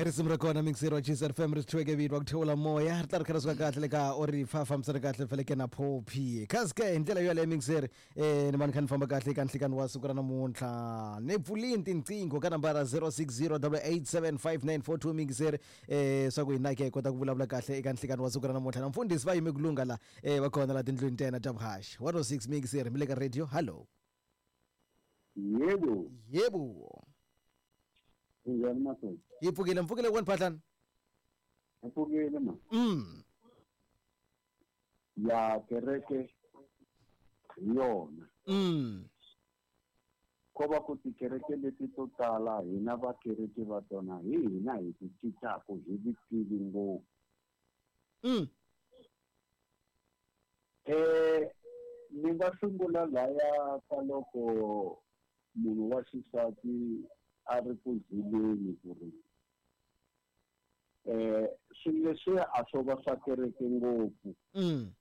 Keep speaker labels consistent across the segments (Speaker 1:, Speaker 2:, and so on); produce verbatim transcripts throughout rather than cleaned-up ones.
Speaker 1: Risimu ra kona mixer wa Chiefs F M ri swi vito wa ku thewula moya ri ta ri kha ri suka kahle le ka o ri fa fambisana kahle feleke na Poppy kasi ke hi ndlela yo yaleyo mixer eh ni va ni kha ni famba kahle eka nhlikani wa siku ra namuntlha ni pfulini tinqingho ka nambara zero six zero double eight seven five nine four two mixer eh swa ku hina ke hi kota ku vulavula kahle eka nhlikani wa siku ra namuntlha na mfundhisi va yime ku lungha la eh va kona la tindlwini ta yena ta vuhaxi one oh six mixer mi le ka radio hello.
Speaker 2: Yebo.
Speaker 1: Yebo.
Speaker 2: Njani masoja?
Speaker 1: Yipfukile mpfukile kwani Phahlani?
Speaker 2: Mpfukile ma.
Speaker 1: Mm.
Speaker 2: Ya kereke yona.
Speaker 1: Mm.
Speaker 2: Ko va ku tikereke leti to tala hina va kereke va tona hi hina hi ti cincaka hi vutivi ngopfu.
Speaker 1: Mm.
Speaker 2: Eh ni nga sungula laya ka loko munhu wa xisati a ri ku zileni ku ri eh swilo leswi a swo va swa kereke ngopfu.
Speaker 1: Mm.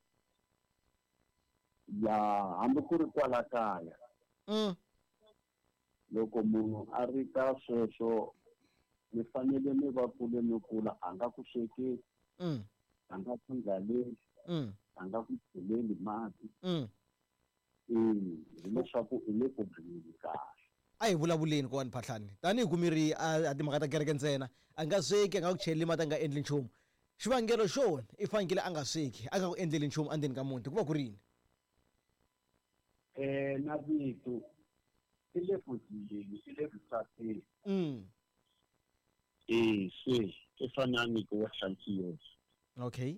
Speaker 2: Ya hambi ku ri kwala kaya.
Speaker 1: Mm.
Speaker 2: Loko munhu a ri ka sweswo mi fanele mi va kule mi kula a nga ku swekeli.
Speaker 1: Mm.
Speaker 2: A nga ku ndlaleli.
Speaker 1: Mm.
Speaker 2: A nga ku cheleli mati.
Speaker 1: Mm.
Speaker 2: Eh hileswaku i le ku hanyeni kahle.
Speaker 1: A hi vulavuleni kowani Phahlani tanihi ku mi ri a timhaka ta kereke ntsena a nga sweki a nga ku cheleli mati a nga endli nchumu xivangelo xo i fanekele a nga sweki a nga ku endleli nchumu endzeni ka muti ku va ku ri yini?
Speaker 2: Eh na vito i le ku zileni i le ku tsakeni.
Speaker 1: Mm.
Speaker 2: Eh se i fana ni ku wa hlantswiwa.
Speaker 1: Okay.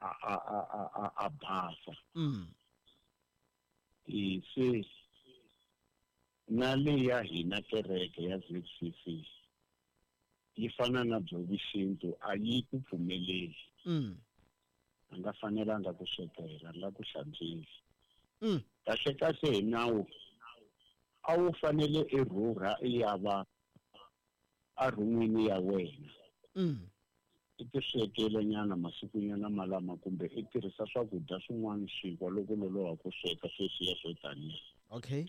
Speaker 2: A a a a a a basa.
Speaker 1: Mm.
Speaker 2: Eh se na le ya hina kereke ya Z C C yi fana na byo vuxintu a yi ku pfumeleli.
Speaker 1: Mm.
Speaker 2: A nga fanelanga ku swekela la ku hlantswisa.
Speaker 1: Mm.
Speaker 2: Kahle kahle hi nawu a wu fanele i rhurha i ya va a rhumini ya wena.
Speaker 1: Mm.
Speaker 2: I ti swekela nyana masiku nyana malama kumbe i tirhisa swakudya swin'wana swinkwa loko loloha ku sweka sweswiya swo taniya.
Speaker 1: Okay.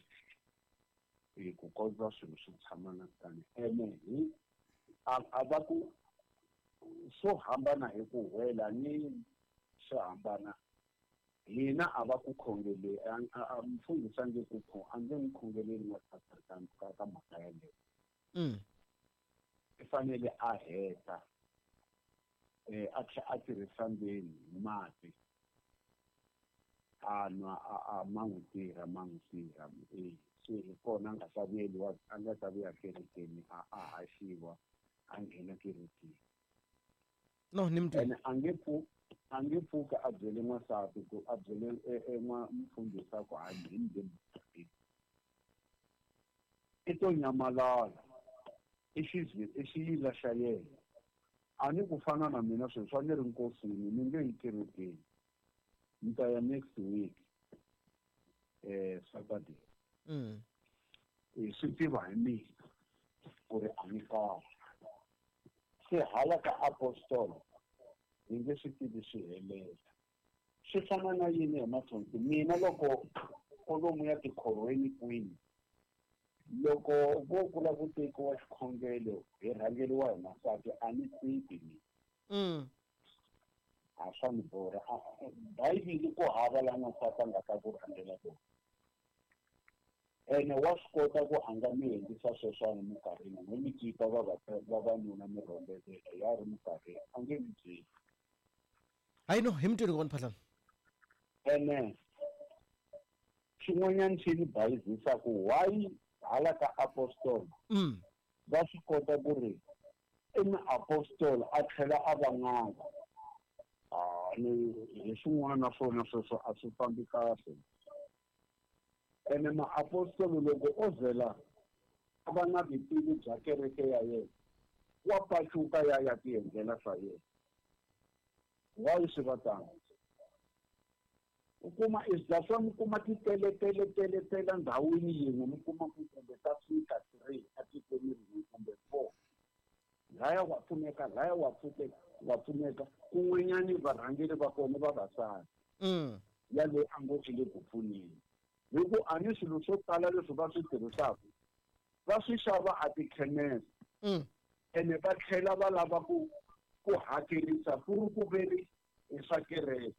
Speaker 2: Hi ku kondza swilo swi tshama na tani ene hi a va ku swo hambana hi ku wela ni swo hambana hina a va ku khongeleli a mfundhisi a nge ku a nge n'wi khongeleli n'wansati ka ka mhaka yaleyo.
Speaker 1: Mm.
Speaker 2: I fanele a heta eh a tlhela a tirhisa ndzeni hi mati a nwa a ma n'wi tirha ma n'wi tirha eh se hi kona a nga ta vuyeliwa a nga ta vuya kerekeni a a haxiwa a nghena kerekeni.
Speaker 1: No ni mtwi.
Speaker 2: Ene a nge pfu a nge pfuka a byele n'wansati ku a byele n'wa mfundhisi ku a ngheni le i to nyamalala i xizwi i xiyila xa yena. A ni ku fana na mina sweswi a ni ri nkosini ni nge yi kerekeni ni ta ya next week eh Saturday.
Speaker 1: Mm.
Speaker 2: I swi tiva hi mina ku ri a ni kahle se hala ka apostolo hi nge swi tivi swi helela swi fana na yini hi mathonsi mina loko kolomu ya tikhorweni kwini loko vo kula ku tekiwa xikhongelo hi rhangeriwa hi masati a ni tivi mina.
Speaker 1: Mm.
Speaker 2: A swa ni borha Bibele ku hava la n'wansati a nga ta ku rhangela kona. Ene wa swi kota ku a nga mi endlisa sweswiwani minkarhini n'we mi cipa vavanuna mi rhombelela ya ri minkarhini a nge mi byeli.
Speaker 1: Hayi no hi mutwini kona Phahlani.
Speaker 2: Ene xin'wanyana xi ni bayizisaka why hala ka apostolo
Speaker 1: mm.
Speaker 2: va swi kota ku ri i muapostolo a tlhela a va n'anga. Ah ni hi swin'wana na swona sweswo a swi fambi kahle. Ene maapostolo loko o zela a va na vutivi bya kereke ya yena wa pacuka ya ya ti endlela swa yena. Why swi va tano? U kuma is swa mi kuma ti tele tele tele tele ndhawini yin'we mi kuma ku kumbe ta fika three etikweni rin'we kumbe four. Laya wa pfuneka laya wa pfuneka wa pfuneka kun'wanyani varhangeri va kona vavasati.
Speaker 1: Mm.
Speaker 2: Ya loyi a ngo i le ku pfuneni. Hi ku a ni swilo swo tala leswi va swi tirhisaka va swi xava a tikhemese.
Speaker 1: Mm.
Speaker 2: Ene va tlhela va lava ku ku hakerisa ku ri ku veri hi swa kereke.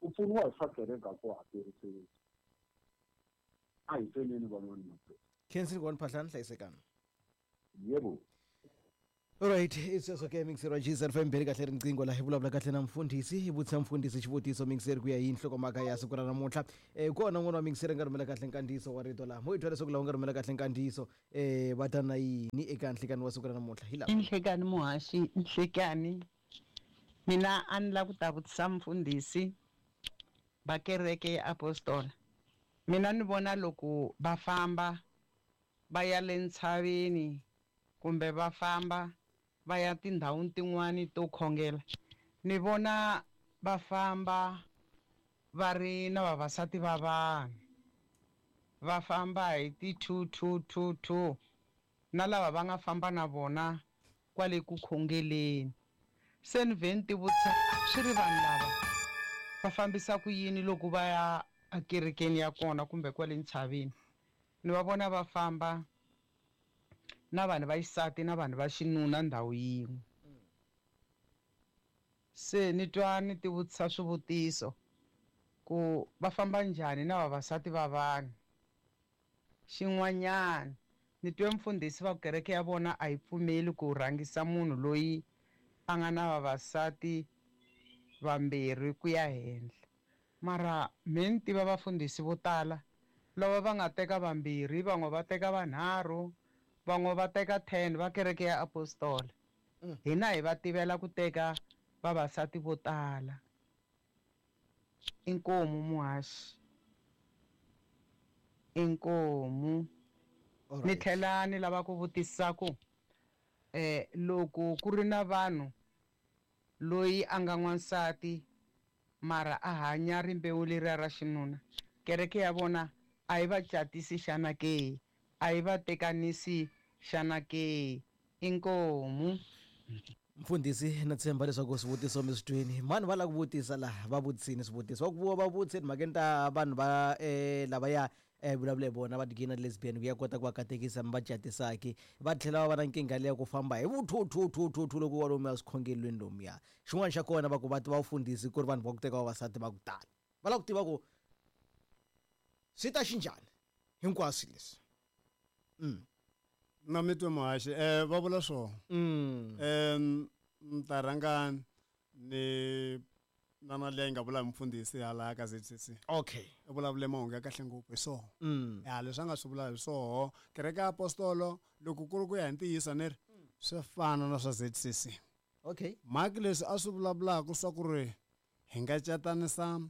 Speaker 2: Ku pfuniwa hi swa kereke a ku hakerisiwi. A hi tweneni van'wana mahlweni.
Speaker 1: Khensile Ngwani Phahlane, hlayisekani.
Speaker 2: Yebo.
Speaker 1: Alright, isweswo ke mixer wa G Z F M beli kahle riqingho la hi vulavula kahle na mfundhisi, hi vutisa mfundhisi xivutiso mixer ku ya hi nhlokomhaka ya siku ra namuntlha. Eh kona n'wana wa mixer nga rhumela kahle nkandziyiso wa rito laha. Mo hi twa leswaku lava nga rhumela kahle nkandziyiso eh va ta na yini eka nhlikani wa siku ra namuntlha. Hi lava.
Speaker 3: Nhlekani muhaxi, nhlekani. Mina a ni lava ku ta vutisa mfundhisi va kereke ya apostola. Mina ni vona loko va famba va ya le ntshaveni kumbe va famba va ya tindhawini tin'wani to khongela, ni vona va famba va ri na vavasati va vanhu, va famba hi ti two two two two na lava va nga famba na vona kwale ku khongeleni. Se ni vhe ni ti vutisa swi ri vanhu lava va fambisa ku yini loko va ya ekerekeni ya kona kumbe kwale ntshaveni. Ni va vona va famba na vanhu va xisati na vanhu va xinuna ndhawu yin'we. Se ni twa ni ti vutisa swivutiso ku va famba njhani na vavasati va vanhu. Xin'wanyana ni twe mfundhisi va kereke ya vona a yi pfumeli ku rhangisa munhu loyi a nga na vavasati vambirhi ku ya henhla. Mara me ni tiva vafundhisi vo tala lava va nga teka vambirhi, van'we va teka vanharhu, van'we va teka ten va kereke ya apostola. Hina hi va tivela ku teka vavasati vo tala. Inkomu muhaxi, inkomu. Ni tlhela ni lava ku vutisa ku eh loko ku ri na vanhu loyi a nga n'wansati mara a hanya rimbewu leriya ra xinuna, kereke ya vona a yi va catisi xana ke? A yi va tekanisi xana ke? Inkomu.
Speaker 1: Mfundhisi, na tshemba leswaku swivutiso mi swi tweni. Mani va lava ku vutisa laha, va vutisini swivutiso. Va ku va vutise timhakeni ta vanhu va eh lavaya eh vulavula hi vona va ti-gay na lesbian ku ya kota ku va katekisa mi va catisaki. Va tlhela va va na nkingha liya ku famba hi vu two two two two two loko wa lomuya swikhongelweni lomuya. Xin'wana xa kona va ku va tiva vafundhisi ku ri vanhu va ku teka vavasati va ku tala. Va lava ku tiva ku swi ta xinjhani hinkwaswo leswi. Mm.
Speaker 4: Na mi twe muhaxi, eh va vula swona.
Speaker 1: Mm.
Speaker 4: Em ni ta rhanga ni na na leyi nga vula mfundhisi hala ka Z C C.
Speaker 1: Okay.
Speaker 4: U vulavule mahungu ya kahle ngopfu hi swoho.
Speaker 1: Mm.
Speaker 4: Ya leswi a nga swi vula hi swoho. Kereke ya apostolo loko ku ri ku ya hi ntiyiso ni ri swi fana na swa Z C C.
Speaker 1: Okay.
Speaker 4: Mhaka leswi a swi vulavulaka swa ku ri hi nga catanisa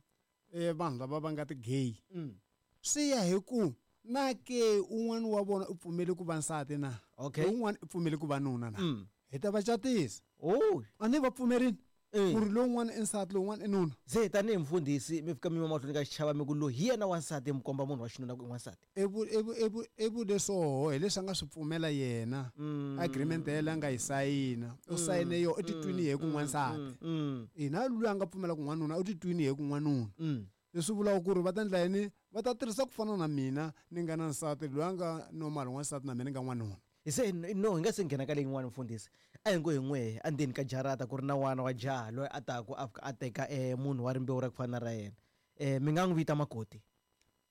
Speaker 4: eh vanhu lava va nga ti-gay.
Speaker 1: Mm.
Speaker 4: Swi ya hi ku na ke un'wana wa vona u pfumele ku va nsati na?
Speaker 1: Okay.
Speaker 4: Un'wana u pfumele ku va nuna na?
Speaker 1: Mm.
Speaker 4: Hi ta va catisa.
Speaker 1: Oh.
Speaker 4: A ni va pfumerini?
Speaker 1: Eh.
Speaker 4: Ku ri lowun'wana i nsati, lowun'wana i nuna.
Speaker 1: Se tanihi mfundhisi mi fika mi yima mahlweni ka xichava mi ku loyi hi yena wansati, mi komba munhu wa xinuna ku i n'wansati.
Speaker 4: I vu-, i vu-, i vu-, i vule swoho hi leswi a nga swi pfumela yena.
Speaker 1: Mm.
Speaker 4: Agreement ya yena a nga yi sayina. U sayine yo, u titwini hi ku
Speaker 1: Mm.
Speaker 4: n'wansati.
Speaker 1: Mm.
Speaker 4: Ina loyi a nga pfumela ku n'wanuna, u titwini hi ku n'wanuna.
Speaker 1: Mm.
Speaker 4: Leswi vulaka ku ri va ta endla yini? Va ta tirhisa ku fana na mina, ni nga na nsati, loyi a nga normal n'wansati na mina ni nga n'wanuna.
Speaker 1: Hi se no hi nga se nghena ka leyin'wani mfundhisi. A hi ngo hi n'we endzeni ka jarata ku ri na n'wana wa jaha loyi a taku a fika a teka eh munhu wa rimbewu ra ku fana na ra yena. Eh mi nga n'wi vita makoti?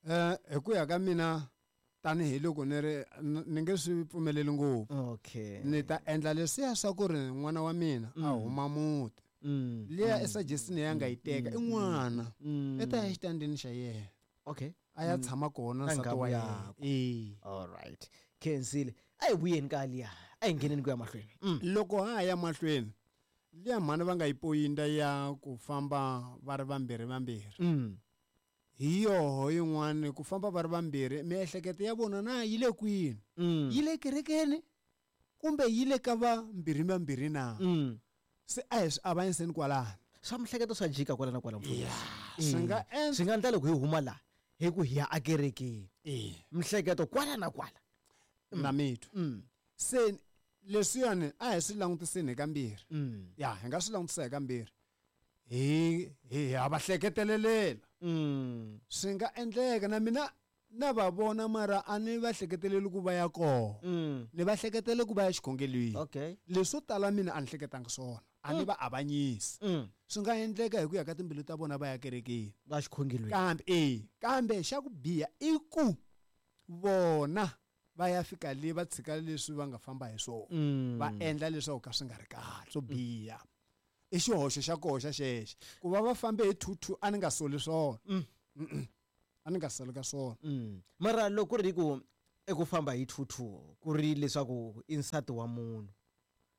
Speaker 4: Eh hi ku ya ka mina tanihiloko ni ri ni nge swi pfumeleli ngopfu.
Speaker 1: Okay.
Speaker 4: Ni ta endla leswiya swa ku ri n'wana wa mina a huma muti.
Speaker 1: Mm.
Speaker 4: Liya i suggestion ya nga yi teka i n'wana.
Speaker 1: Mm.
Speaker 4: I ta ya exitandini xa yena.
Speaker 1: Okay.
Speaker 4: A ya tshama kona
Speaker 1: Ka
Speaker 4: nsati
Speaker 1: nghamu
Speaker 4: wa yena.
Speaker 1: yakwe.
Speaker 4: Eh.
Speaker 1: All right. Khensile. A hi vuyeni ka liya. A hi ngheneni ku ya mahlweni. Mm.
Speaker 4: Loko ha ha ya mahlweni, liya mhani va nga yi poyinta ya ku famba va ri vambirhi vambirhi.
Speaker 1: Mm.
Speaker 4: Hi yoho yin'wani ku famba va ri vambirhi, miehleketo ya vona na yi le kwini?
Speaker 1: Mm.
Speaker 4: Yi le kerekeni kumbe yi le ka vambirhi vambirhi na?
Speaker 1: Mm.
Speaker 4: Se a hi swi avanyiseni kwalano.
Speaker 1: Swa mihleketo swa jika kwala na kwala mfundhisi.
Speaker 4: Yeah. Swi nga endla
Speaker 1: Swi nga endla loko hi huma laha hi ku hi ya ekerekeni.
Speaker 4: Eh.
Speaker 1: Mihleketo kwala na kwala.
Speaker 4: Na mitwa.
Speaker 1: Mm.
Speaker 4: Se leswiyani a hi swi langutiseni hi kambirhi.
Speaker 1: Mm.
Speaker 4: Ya, hi nga swi langutisa hi kambirhi. Hi, hi ha va hleketelelela.
Speaker 1: Mm.
Speaker 4: Swi nga endleka na mina Na va vona mara a ni va hleketeleli ku va ya kona.
Speaker 1: Mm.
Speaker 4: Ni va hleketele ku va ya xikhongelweni.
Speaker 1: Okay.
Speaker 4: Leswo tala mina a ni hleketanga swona. A ni va avanyisi.
Speaker 1: Mm.
Speaker 4: Swi nga endleka hi ku ya ka timbilu ta vona va ya kerekeni.
Speaker 1: Va xikhongelweni.
Speaker 4: Kambe eh kambe xa ku biha i ku vona va ya fika le va tshika leswi va nga famba hi swona.
Speaker 1: Mm.
Speaker 4: Va endla leswaku ka swi nga ri kahle swo biha. I xihoxo xa koho xa xexo. Ku va va fambe hi two two a ni nga soli swona.
Speaker 1: Mm.
Speaker 4: Mm-mm. A ni nga soli ka swona.
Speaker 1: Mm. Mara loko ku ri ku eku famba hi two two ku ri leswaku i nsati wa munhu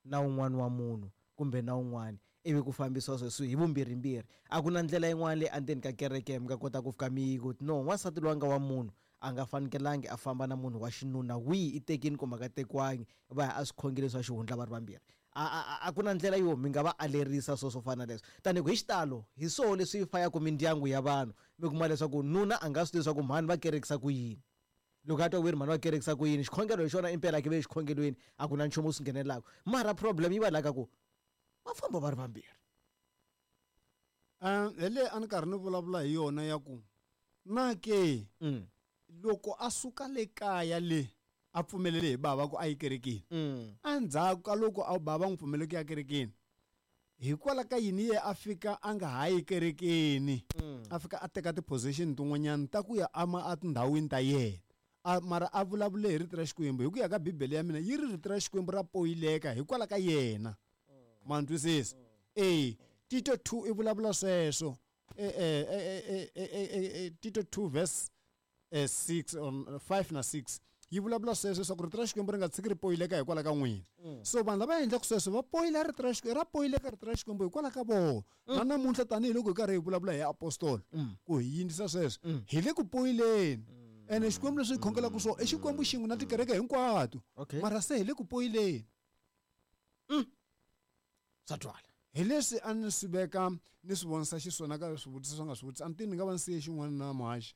Speaker 1: na un'wana wa munhu kumbe na un'wana ivi ku fambisiwa sweswi hi vumbirhimbirhi a ku na ndlela yin'wana leyi endzeni ka kereke mi nga kota ku fika mi ku no wansati loyi a nga wa munhu a nga fanekelangi a famba na munhu wa xinuna wihi i tekini kumbe a nga tekiwangi va ya a swikhongelo swa xihundla va ri vambirhi. A, a, a, a ku na ndlela yo mi nga va alerisa swo swo fana na leswo tanihi ku hi xitalo hi swoho leswi fayaka mindyangu ya vanhu mi kuma leswaku nuna a nga swi tivi leswaku mhani va kerekisa ku yini loko a twa ku ri mhani va kerekisa ku yini xikhongelo hi xona impela a ke ve xikhongelweni a ku na nchumu wu swi nghenelaka mara problem yi va laha ka ku va famba va ri vambirhi.
Speaker 4: Um hi leyi a ni karhi ni vulavula hi yona ya ku na ke
Speaker 1: Mm.
Speaker 4: loko a suka le kaya le a pfumelele hi bava ku a yi kerekeni.
Speaker 1: Mm.
Speaker 4: Endzhaku ka loko a bava n'wi pfumelele ku ya kerekeni hikwalaho ka yini ye a fika a nga ha yi kerekeni
Speaker 1: Mm.
Speaker 4: a fika a teka ti-position tin'wanyana ta ku ya ama etindhawini ta yena a mara a vulavule hi rito ra Xikwembu hi ku ya ka bibele ya mina yi ri rito ra Xikwembu ra poyileka hikwalaho ka yena. Ma ni twisisa? E Tito two i vulavula sweswo. E, e, e, e, e, e, e, Tito two verse eh, six on five na six yi vulavula sweswo leswaku rito ra Xikwembu ri nga tshiki ri poyileka hikwalaho ka n'wina. So vanhu lava endlaka sweswo va poyila rito ra Xikwembu ra poyileka rito ra Xikwembu hikwalaho ka vona. Na namuntlha tanihiloko hi karhi hi vulavula hi apostolo ku hi yindzisa sweswo hi le ku poyileni. Ene Xikwembu leswi hi khongelaka swona i Xikwembu xin'we na tikereke hinkwato.
Speaker 1: Okay.
Speaker 4: Mara se hi le ku poyileni.
Speaker 1: Swa twala.
Speaker 4: Hi leswi a ni swi veka ni swi vonisa xiswona ka swivutiso swi nga swi vutisa a ni tivi ni nga va ni siye xin'wana na muhaxi.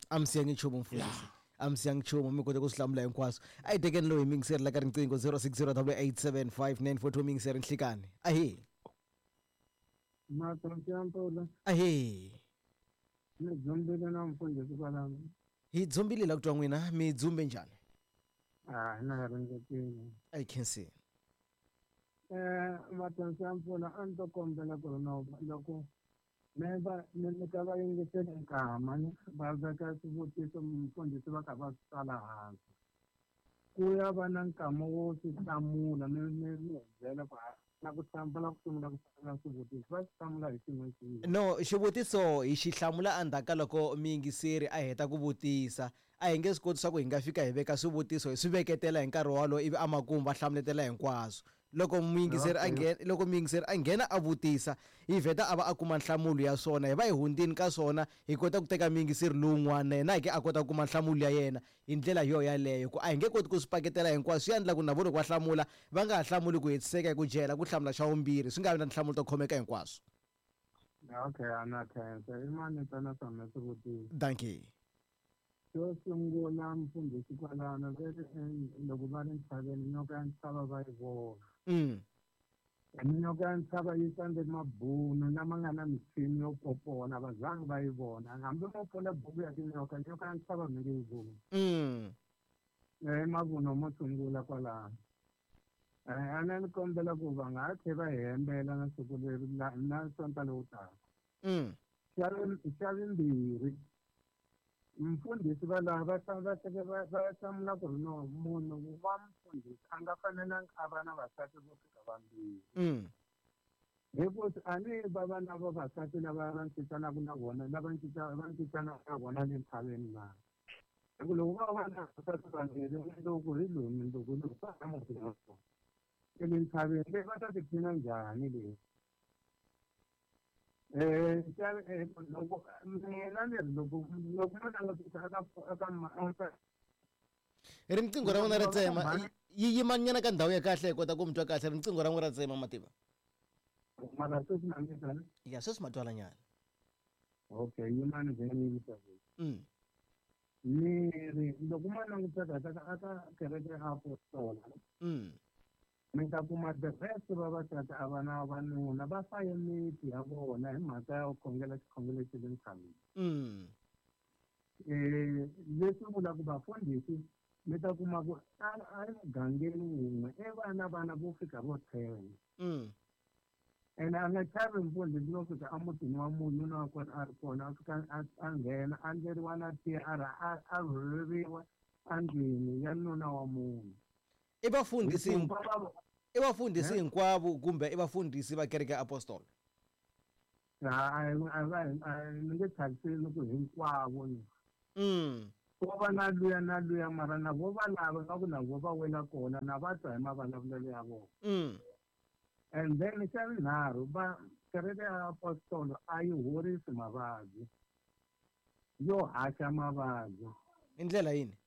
Speaker 1: A mi siyangi nchumu mfundhisi. A mi siyangi nchumu mi kote ku swi hlamula hinkwaswo. A hi tekeni loyi mingiseri la ka riqingho zero six zero double eight seven five nine four two mingiseri nhlikani. Ahee.
Speaker 5: Matsotsi ya mpfula.
Speaker 1: Ahee.
Speaker 5: Ni dzumbile na mfundhisi kwalano.
Speaker 1: Hi dzumbile la ku twa n'wina mi dzumbe njhani?
Speaker 5: Ah, na ringetile.
Speaker 1: I can see.
Speaker 5: Eh, matsotsi ya mpfula a ni to kombela ku ri no loko me va ni nyika va yingiseli nkama ni va veka swivutiso mfundhisi va kha va swi tsala hansi. Ku ya va na nkama wo swi hlamula ni ni ni hi byela ku ha na ku hlamula ku sungula ku hlamula swivutiso va swi hlamula hi xin'we xin'we.
Speaker 1: No, xivutiso hi xi hlamula endzhaku ka loko muyingiseri a heta ku vutisa. A hi nge swi koti swa ku hi nga fika hi veka swivutiso hi swi veketela hi nkarhi wolowo ivi emakumu va hlamuletela hinkwaswo. Loko muyingiseri a nghena, loko muyingiseri a nghena a vutisa hi vheta a va a kuma nhlamulo ya swona hi va hi hundzini ka swona hi kota ku teka muyingiseri lowun'wana na yena ke a kota ku kuma nhlamulo ya yena hi ndlela yo yaleyo ku a hi nge koti ku swi paketela hinkwaswo swi endla ku na vona loko va hlamula va nga ha hlamuli ku hetiseka hi ku jela ku hlamula xa vumbirhi swi nga vi na tinhlamulo to khomeka hinkwaswo.
Speaker 5: Okay, a na khensa i mani ntsena swona swivutiso.
Speaker 1: Dankie.
Speaker 5: Xo sungula mfundhisi kwalano ve ri loko va ri ntshaveni nyoka ya ntshava va yi vona.
Speaker 1: Mm.
Speaker 5: Nyoka ya ntshava yi tsandze mabunu lama nga na michini yo popona va zangi va yi vona hambi mo pfula buku ya tinyoka nyoka ya ntshava mi nge yi voni.
Speaker 1: Mm.
Speaker 5: I mavuno mo sungula kwalano. Eh, a ni kombela ku va nga ha tlhe va hi hembela na siku leri na sonta lowu taka.
Speaker 1: Mm.
Speaker 5: Xa xa vumbirhi mfundhisi va lava va va va va hlamula ku ri no munhu wa mfundhisi a nga fanelanga a va na vasati vo fika vambirhi.
Speaker 1: Mm.
Speaker 5: Hi ku a ni va va na vavasati lava va cincanaka na vona lava cinca va cincanaka na vona le ntshaveni na. Hi ku loko va va na vavasati vambirhi mundzuku hi loyi mundzuku hi loyi va na muti wa vona. Le ntshaveni leyi va ta tiphina njhani leyi? Eh, loko mina ni ri loko loko mo langutisa eka eka eka
Speaker 1: Riqingho ra n'wina ra tsema yi yimanyana ka ndhawu ya kahle hi kota ku mi twa kahle riqingho ra n'wina ra tsema mativa.
Speaker 5: Mara sweswi ma mi twa
Speaker 1: Ya sweswi ma twalanyana.
Speaker 5: Okay, yimani vhe ni yisa.
Speaker 1: Mm.
Speaker 5: Ni ri loko mo langutisa kahle eka eka kereke ya apostola.
Speaker 1: Mm.
Speaker 5: Mi ta kuma the rest vavasati a va na vavanuna va faye miti ya vona hi mhaka ya ku khongela xikhongelo xa le ntshaveni.
Speaker 1: Mm.
Speaker 5: Eh leswi vulaka vafundhisi mi ta kuma ku a emugangeni wun'we i vana vana vo fika vo ten. Ene a nga chavi mfundhisi no fika emutini wa munhu nuna wa kona a ri kona a fika a nghena a endleriwa na tiya a ra a rhurheriwa endlwini ya nuna wa munhu.
Speaker 1: I vafundhisi i vafundhisi hinkwavo kumbe i vafundhisi va kereke ya apostolo?
Speaker 5: A va ni nge tlhaviseli ku hinkwavo ni. Ko va na luya na luya mara na vo va lava nga ku na vo va wela kona na va twa hi mavulavulelo ya vona. And then xa vunharhu va kereke ya apostolo a yi horisi mavabyi, yo haxa mavabyi.
Speaker 1: Hi ndlela yini?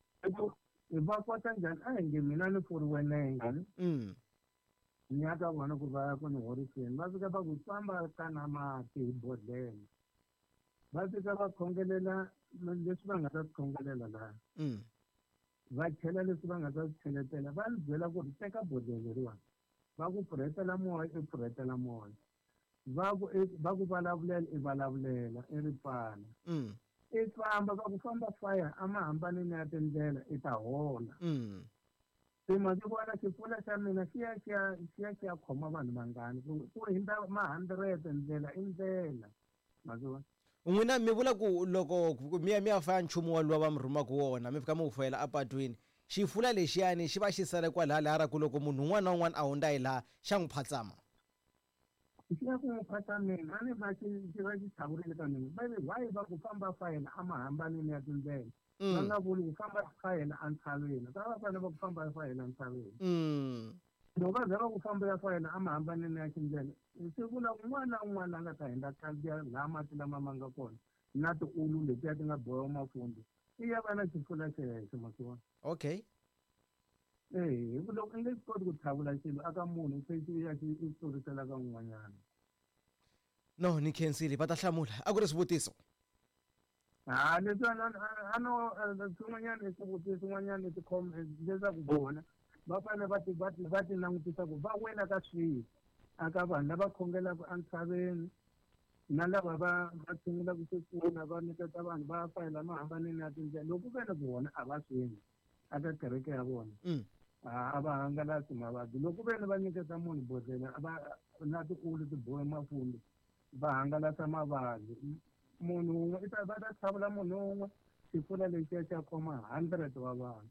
Speaker 5: Va kota njhani? A hi nge mina ni pfuriwe nenge ni ya ka vona ku va ya ku ni horiseni, va fika va ku famba ka na mati hi bodlhela, va fika va khongelela leswi va nga ta swi khongelela laha, va chela leswi va nga ta swi cheletela, va ni byela ku ri teka bodlhela leriwani, va ku pfurhetela moya i pfurhetela moya, va ku va ku vulavulela i vulavulela i ri pfala, i famba va ku famba faya a ma hambanini ya tindlela i ta hola. Se ma swi vona xipfula xa mina xi ya xi ya xi ya xi ya khoma vanhu vangani ku ku hundza ma hundred ndlela i ndlela ma swi vona.
Speaker 1: N'wina mi vula ku loko mi ya mi ya faya nchumu walowu va mi rhumaka wona mi fika mi wu fayela apatwini, xifula lexiyani xi va xi sale kwalaya laha ra ku loko munhu un'wana na un'wana a hundza hi laha xa n'wi phatsama.
Speaker 5: Xi ya ku n'wi phatsameni a ni va xi xi va xi tlhavurile ka mina va why va ku famba fayela a ma hambanini ya tindlela, va nga vuli ku famba fayela entshaveni, va va fanele va ku famba fayela entshaveni. Loko va za va ku famba ya fayela a ma hambanini ya tindlela, swi vula un'wana na un'wana a nga ta hundza khandziya laha mati lama ma nga kona na tiulu letiya ti nga bohiwa mafundi i ya va na xifula xexo ma swi vona.
Speaker 1: Okay.
Speaker 5: Eh, hi ku loko i nge swi koti ku tlhavula xilo aka munhu se xi ya xi i tlurisela ka un'wanyana.
Speaker 1: No, ni khensile va ta hlamula. A ku ri swivutiso.
Speaker 5: Ha leswi a no swin'wanyana i swivutiso swin'wanyana i leswaku vona va fanele va ti va ti va ti langutisa ku va wela ka swihi aka vanhu lava khongelaka entshaveni na lava va va tshungulaka swipfuna va nyiketa vanhu va fayela mahambanini ya tindlela loko ku ve ni vona a va swi endli aka kereke ya vona a va hangalasi mavabyi. Loko ku ve ni va nyiketa munhu bodlhela va na tiulu ti bohe mafundi va hangalasa mavabyi, munhu wun'we i ta va ta tlhavula munhu wun'we xifula lexiya xa khoma hundred wa vanhu.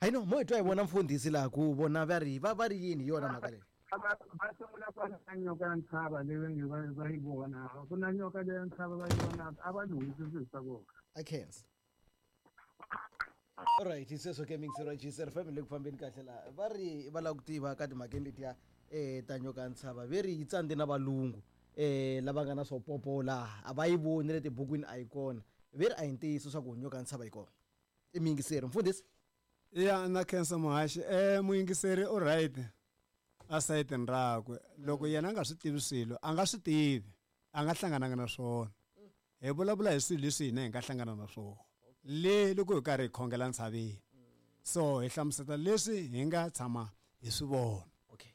Speaker 1: Hayi no mo hi twa hi vona mfundhisi laha ku vona va ri va va ri yini hi yona mhaka leyi.
Speaker 5: Va sungula kwala ka nyoka ya ntshava leyi va nge va va yi vona, ku na nyoka leyi ya ntshava va yi vonaka a va lunghisi swilo swa vona.
Speaker 1: I khensa. Alright, sweswo ke mingisero ya G C R F M le ku fambeni kahle laha va ri va lava ku tiva ka timhakeni letiya um ta nyoka ya ntshava ve ri yi tsandze na valungu um lava nga na swo popo laha a va yi voni le tibukwini a yi kona, ve ri a hi ntiyiso swa ku nyoka ya ntshava yi kona. I muyingiseri mfundhisi.
Speaker 4: Ya na khensa muhaxi. Eh muyingiseri u right a sayitini rakwe loko yena a nga swi tivi swilo a nga swi tivi a nga hlangananga na swona. Hi vulavula hi swilo leswi hina hi nga hlangana na swona le loko hi karhi hi khongela ntshaveni, so hi hlamusela leswi hi nga tshama hi swi vona.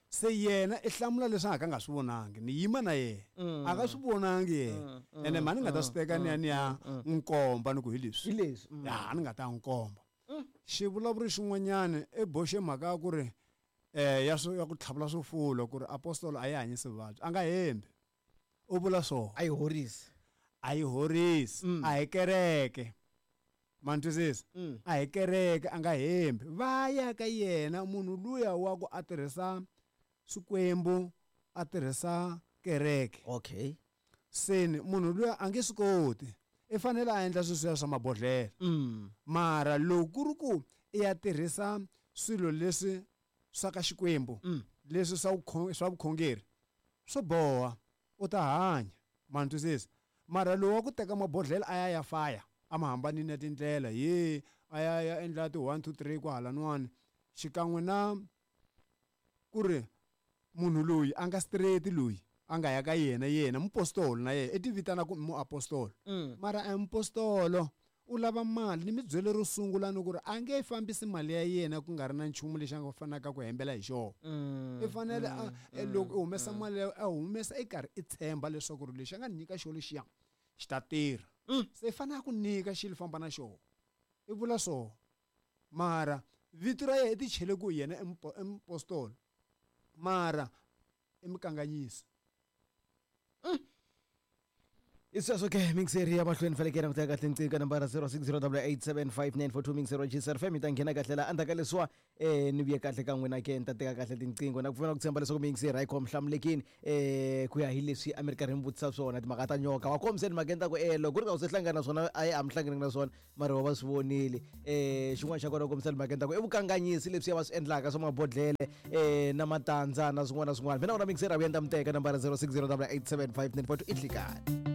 Speaker 4: Se yena i hlamula leswi a ka nga swi vonangi, ni yima na yena a nga swi vonangi yena ene mhani nga ta swi teka ni ya ni ya nkomba ni ku hi leswi
Speaker 1: hi leswi
Speaker 4: ya ni nga ta nkomba. Xivulavuri xin'wanyana i boxe mhaka ya ku ri eh ya swo ya ku tlhavula swifulo ku ri apostolo a yi hanyisi vuvabyi, a nga hembi u vula swona.
Speaker 1: A yi horisi,
Speaker 4: a yi horisi, a hi kereke ma ni twisisa, a hi kereke a nga hembi. Va ya ka yena munhu luya wa ku a tirhisa swikwembu a tirhisa kereke.
Speaker 1: Okay.
Speaker 4: Seni munhu luya a nge swi koti, i fanele a endla sweswiya swa mabodhlela. Mara loko ku ri ku i ya tirhisa swilo leswi swa ka Xikwembu leswi swa swa vukhongeri swo boha u ta hanya ma ni twisisa. Mara lowu wa ku teka mabodhlela a ya ya faya a ma hambanini ya tindlela ye a ya ya endla ti one two three kwahalanwani xikan'we na ku ri munhu loyi a nga straight loyi a nga ya ka yena yena mupostolo na yena i ti vitana ku muapostolo mara a mupostolo u lava mali ni mi byele ro sungula ni ku ri a nge fambisi mali ya yena ku nga ri na nchumu lexi a nga fanaka ku hembela hi xona. I fanele loko u humesa mali a humesa i karhi i tshemba leswaku ri lexi a nga ni nyika xona lexiya xi ta tirha. Se i fanele a ku nyika xilo famba na xona. I vula swona mara vito ra yena i ti chele ku yena i mupo- i muapostolo mara i mukanganyisi.
Speaker 1: I sweswo ke mixeri ya mahlweni fanekele ku teka kahle ncinga nambara zero six zero double eight seven five nine four two mixeri wa G S F M yi ta nghena kahle laha endzhaku ka leswiwa um ni vuye kahle ka n'wina ke ni ta teka kahle tinqingho na ku pfumela ku tshemba leswaku mixeri a yi khomi hlamulekini um ku ya hi leswi a mi ri karhi mi vutisa swona timhaka ta nyoka wa kombiseni mhakeni ta ku e loko ku ri ka u se hlangana na swona a yi a mi hlangananga na swona mara wa va swi vonile um xin'wana xa kona u kombisa timhakeni ta ku i vukanganyisi leswi va swi endlaka swa mabodhlele um na matandza na swin'wana na swin'wana. Mina wona mixeri a vuya ni ta mi teka nambara zero six zero double eight seven five nine four two i nhlikani.